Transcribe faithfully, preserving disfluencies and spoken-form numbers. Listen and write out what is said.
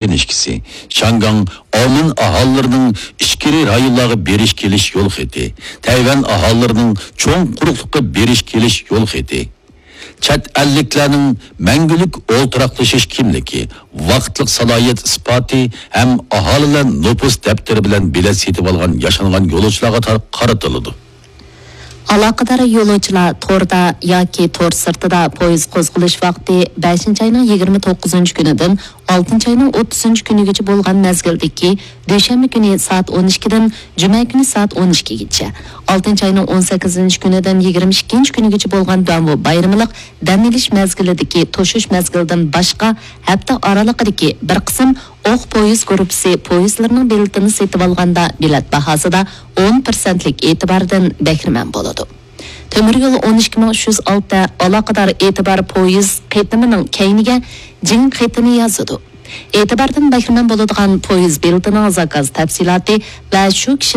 كىنىشكىسى، شياڭگاڭ، ئاۋمېن ئاھالىلىرىنىڭ ئىچكىرى رايونلارغا بېرىش كېلىش يول خېتى، تەيۋەن ئاھالىلىرىنىڭ چوڭ قۇرۇقلۇققا بېرىش كېلىش يول خېتى، چەت ئەللىكلەرنىڭ مەڭگۈلۈك ئولتۇراقلىشىش كىملىكى، ۋاقىتلىق سالاھىيەت ئىسپاتى ھەم ئاھالىلەر نوپۇس دەپتىرى بىلەن بېلەت سېتىۋالغان ياشانغان يولۇچىلارغا تار-، قارىتىلىدۇ. ئالاقىدار يولۇچىلار توردا ياكى تور سىرتىدا پويىز قوزغىلىش ۋاقتى بەشىنچى ئاينىڭ يىگىرمە توققۇزىنچى كۈنىدىن ئالتىنچى ئاينىڭ ئوتتۇزىنچى كۈنىگىچە بولغان مەزگىلدىكى دۈشەنبە كۈنى سائەت ئون ئىككىدىن جۈمە كۈنى سائەت ئون ئىككىگىچە، ئالتىنچى ئاينىڭ ئون سەككىزىنچى كۈنىدىن يىگىرمە ئىككىنچى كۈنىگىچە بولغان دۇەنۋۇ بايرىملىق دەم ئېلىش مەزگىلىدىكى توشۇش مەزگىلىدىن باشقا ھەپتە ئارىلىقىدىكى بىر قىسىم ئوق پويىز گۇرۇپپىسى پويىزلىرىنىڭ بېلىتىنى سېتىۋالغاندا بېلەت باھاسىدا ئون پىرسەنتلىك ئېتىباردىن بەھرىمەن بولىدۇ. تۆمۈر يول ئون ئىككى مىڭ ئۈچ يۈز ئالتە ئالاقىدار ئېتىبار پويىز قېتىمىنىڭ كەينىگە جىڭ قېتىمى يازىدۇ. ئېتىباردىن بەھرىمەن بولىدىغان پويىز بېلىتىنىڭ زاكاز تەپسىلاتى ۋە شۇ كىشى